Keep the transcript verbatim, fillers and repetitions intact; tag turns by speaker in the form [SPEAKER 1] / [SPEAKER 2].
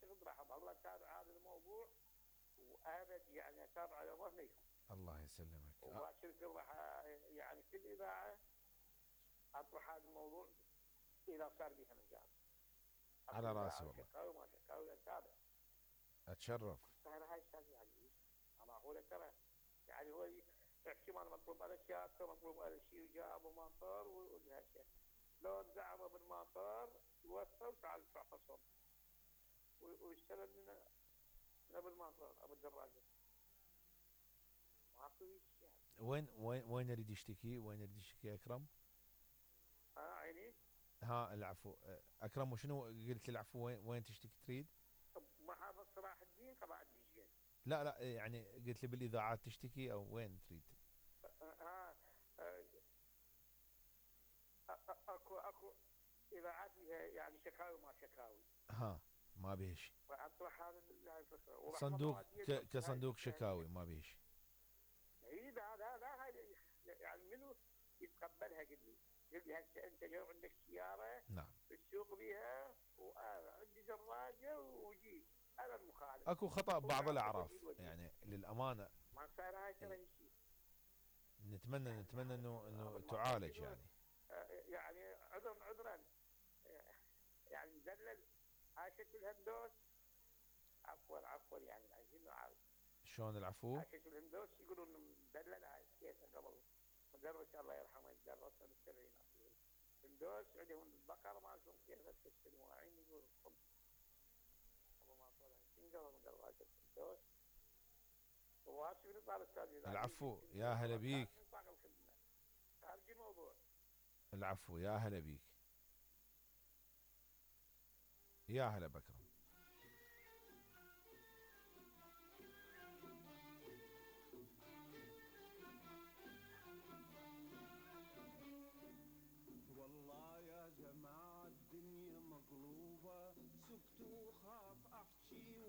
[SPEAKER 1] اعتقد راح اظل اتابع هذا الموضوع وابد يعني اتابعه على ظهري.
[SPEAKER 2] الله يسلمك.
[SPEAKER 1] وباشركم راح يعني في الاذاعه اطرح هذا الموضوع اذا صار بها مجال.
[SPEAKER 2] على راسي والله.
[SPEAKER 1] شكاوي ما شكاوي اتابع.
[SPEAKER 2] اتشرف.
[SPEAKER 1] السهره هاي استاذ عزيز انا اقول ترى يعني هو احتمال مطلوب على شياكه مطلوب على شيء وجابوا مطار وهالشيء. لو زعموا بالمطار وصل تعال ادفع خصم. واشترى من من بالمطار ابو الدراجه. ماكو شيء.
[SPEAKER 2] وين وين وين يريد يشتكي؟ وين يريد يشتكي اكرم؟
[SPEAKER 1] ها عيني؟
[SPEAKER 2] ها العفو اكرم. وشنو قلت العفو؟ وين وين تشتكي تريد؟
[SPEAKER 1] محافظ صلاح الدين قضاء الدجيل.
[SPEAKER 2] لا لا يعني قلت لي بالاذاعات تشتكي او وين تريد؟
[SPEAKER 1] ها اكو اكو اذاعات يعني شكاوي ما شكاوي.
[SPEAKER 2] ها ما بيه شيء.
[SPEAKER 1] اطرح هذا الفكره.
[SPEAKER 2] صندوق كصندوق شكاوي ما بيه شيء.
[SPEAKER 1] اي لا لا لا يعني منو يتقبلها قل لي؟ قل لي هسه انت اليوم عندك سياره
[SPEAKER 2] نعم
[SPEAKER 1] تسوق بها وانا عندي دراجه وجيت انا المخالف.
[SPEAKER 2] اكو خطا بعض الاعراف يعني للامانه.
[SPEAKER 1] ما صار هاي ترى شيء.
[SPEAKER 2] نتمنى نتمنى انه انه تعالج يعني.
[SPEAKER 1] يعني عذرا عذرا يعني مدلل هاي شكل هندوس. عفوا عفوا يعني عايزين نعالج.
[SPEAKER 2] شلون العفو؟
[SPEAKER 1] هاي شكل هندوس يقولون مدلل هاي كيسه قبل مدرس الله يرحمه درسنا بالسبعينات. هندوس عندهم البقر مالتهم كيسه السنواعين يقولون قبل ما طلع سنجر من دراجه هندوس. وهاسي من طال استاذ.
[SPEAKER 2] العفو يا هلا بيك.
[SPEAKER 1] خارج الموضوع.
[SPEAKER 2] العفو يا هلا بيك. يا هلا بكرم.
[SPEAKER 3] والله يا جماعة الدنيا مقلوبة سكتوا